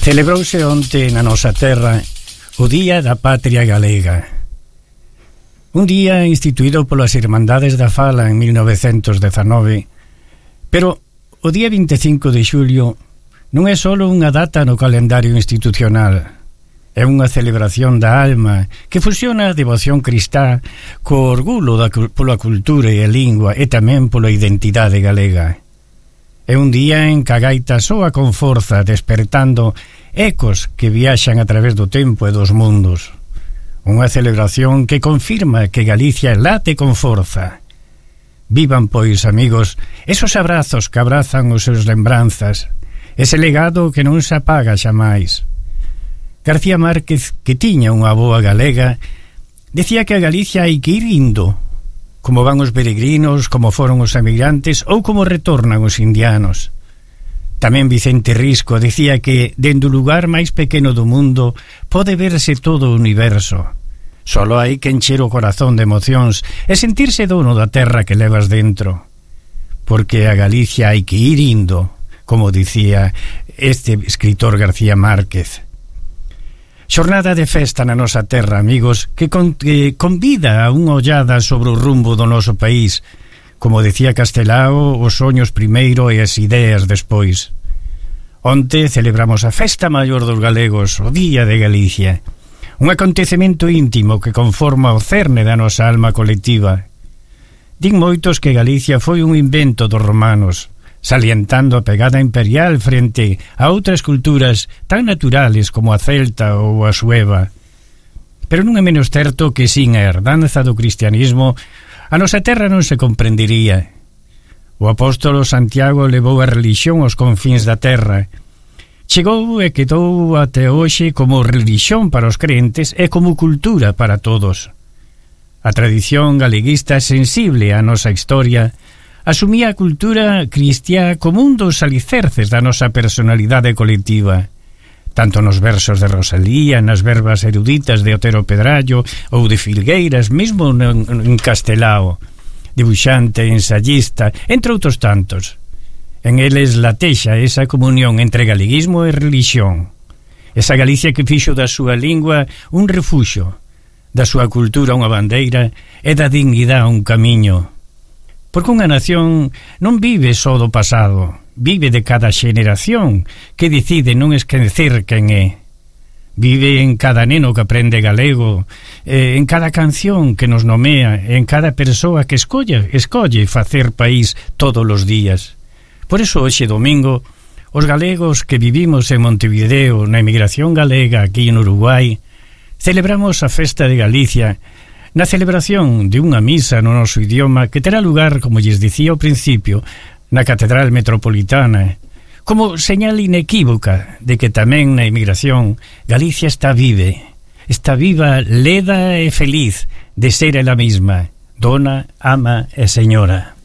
Celebrouse onte na nosa terra o Día da Patria Galega. Un día instituído polas Irmandades da Fala en 1919, pero o día 25 de xulio non é só unha data no calendario institucional, é unha celebración da alma que fusiona a devoción cristá co orgullo pola cultura e a lingua e tamén pola identidade galega. É un día en que a gaita soa con forza, despertando ecos que viaxan a través do tempo e dos mundos. Unha celebración que confirma que Galicia late con forza. Vivan, pois, amigos, esos abrazos que abrazan os seus lembranzas, ese legado que non se apaga xamais. García Márquez, que tiña unha boa galega, decía que a Galicia hai que ir indo, como van os peregrinos, como foron os emigrantes ou como retornan os indianos. Tamén Vicente Risco decía que dende o lugar máis pequeno do mundo pode verse todo o universo. Solo hai que encher o corazón de emocións e sentirse dono da terra que levas dentro. Porque a Galicia hai que ir indo, como dicía este escritor García Márquez. Xornada de festa na nosa terra, amigos, que convida a unha ollada sobre o rumbo do noso país. Como decía Castelao, os soños primeiro e as ideas despois. Onte celebramos a festa maior dos galegos, o Día de Galicia. Un acontecemento íntimo que conforma o cerne da nosa alma colectiva. Din moitos que Galicia foi un invento dos romanos, salientando a pegada imperial frente a outras culturas tan naturales como a celta ou a sueva. Pero non é menos certo que sin a herdanza do cristianismo a nosa terra non se comprendería. O apóstolo Santiago levou a religión aos confíns da terra. Chegou e quedou até hoxe como religión para os crentes e como cultura para todos. A tradición galeguista sensible á nosa historia asumía a cultura cristiá como un dos alicerces da nosa personalidade colectiva, tanto nos versos de Rosalía, nas verbas eruditas de Otero Pedrallo ou de Filgueiras, mesmo en Castelao, debuxante, ensayista, entre outros tantos. En eles latexa esa comunión entre galeguismo e religión, esa Galicia que fixo da súa lingua un refuxo, da súa cultura unha bandeira e da dignidade un camiño. Porque unha nación non vive só do pasado, vive de cada xeneración que decide non esquecer quen é. Vive en cada neno que aprende galego, en cada canción que nos nomea, en cada persoa que escolle facer país todos os días. Por iso hoxe domingo, os galegos que vivimos en Montevideo, na emigración galega aquí en Uruguai, celebramos a festa de Galicia na celebración de unha misa no noso idioma que terá lugar, como lles dicía ao principio, na Catedral Metropolitana, como señal inequívoca de que tamén na emigración Galicia está viva, leda e feliz de ser ela mesma, dona, ama e señora.